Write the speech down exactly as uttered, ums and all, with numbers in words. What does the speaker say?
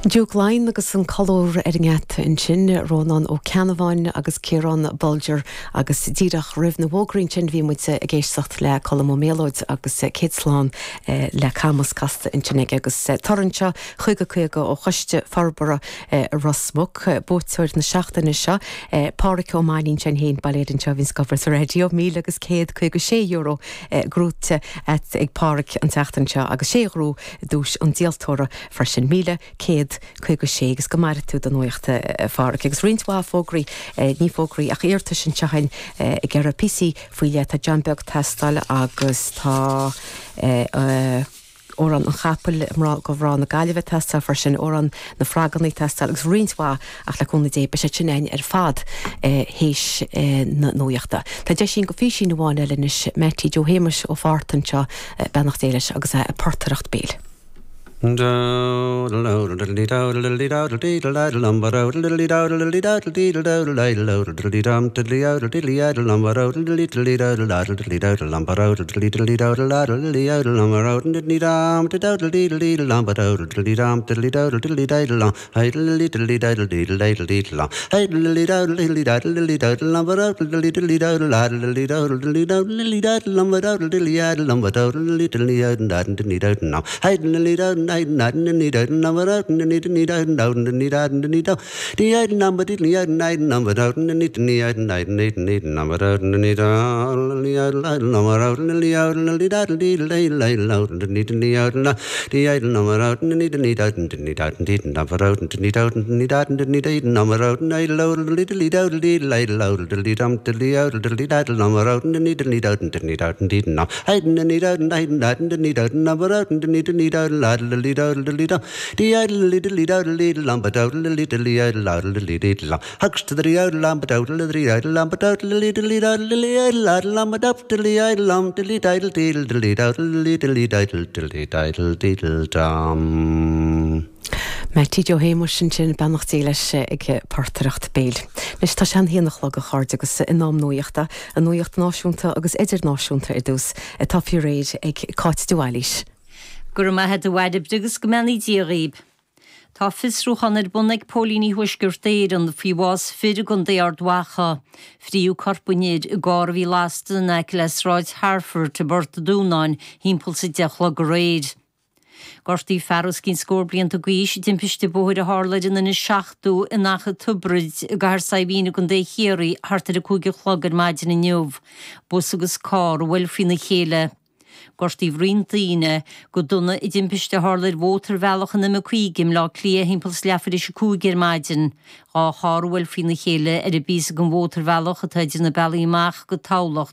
Duke Line agus an colúr ar an ngeata ansin Rónán Ó Ceannabháin agus Ciarán Bolger agus díreach roimh na bhfógraí sin bhí muid ag éisteacht le Colm Ó Méalóid agus céad slán eh, le Camas casta ansin aige agus eh, torann seo chuige chuige ó Choiste Forbartha eh, Ros Muc buaiteoir na seachtaine seo Pádraic Ó Mainnín sin féin bailéir anseo bhíonn scobar sa raidió míle agus céad caoga sé euro gnóthaithe ag Pádraic an tseachtain seo agus sé ghnó duais an díoltóra freisin míle céad caoga sé agus go maire tú don nuacht a Phádraic agus roinnt mhaith fógraí ní fógraí ach iarratais anseo ag ar píosaí faoi leith tá John Beag teastáil agus tá amhrán an chapaill go mná na Gaillimhe teastáil freisin amhrán na fráganna teastáil agus roinnt mhaith ach le cúnamh Dé beidh sé sin ar fad théis na nuachta. Tá deis againn go físín amháin eile anois Mattie Joe Shéamuis ó Phort anseo beannacht Dé leis agus é ag portaireacht béil. Hucks to the Mattie Joe Shéamuis ansin beannacht Dé leis ag portaireacht béil. Anois tá sé an haon a chlog a chairde agus in am nuachta, an nuacht náisiúnta agus idirnáisiúnta ar dtús atá faoi réir ag Cáit de Bhailís. Go raibh maith agat a Bhairbre agus go mbeannaí Dia dhaoibh. Tá fiosrúchán ar bun ag Póilíní Thuaisceart Éireann faoi bhás fir i gContae Ard Mhacha. Fríodh corp an fhir i gcarr a bhí lasta in aice le Sráid Harford i bPort Dúnáin timpeall is a deich a chlog aréir. Gortaíodh fear os cionn scór blianta d'aois i dtimpiste bóthair a tharla ar an N seachtó in Achadh Tiobraid i gCathair Saidhbhín i gContae Chiarraí thart ar a cúig a chlog ar maidin inniu. Bus agus carr a bhuail faoina chéile. Gortaíodh roinnt daoine go dona i dtimpiste a tharla ar mhótarbhealach an M cúig i mBleá Cliath timpeall is leathuair tar éis a cúig ar maidin. Dhá charr a bhuail faoina chéile ar an bpíosa den mhótarbhealach atá idir na bealaí amach go Tamhlacht